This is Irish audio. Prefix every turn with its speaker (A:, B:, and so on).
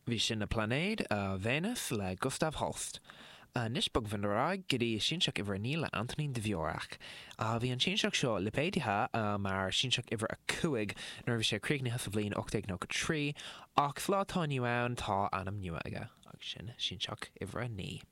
A: Bhí sin Na Pláinéid, Véineas le Gustav Holst. Anois bogfaimid ar aghaidh go dtí Sianseach uimhir a 9 le Antonín Dvorak. Bhí an sianseach seo lipéadaithe mar Sianseach uimhir a 5 nuair a bhí sé críochnaithe sa bhliain 1893 ach sa lá atá inniu ann tá ainm nua aige agus sin Sianseach uimhir a 9.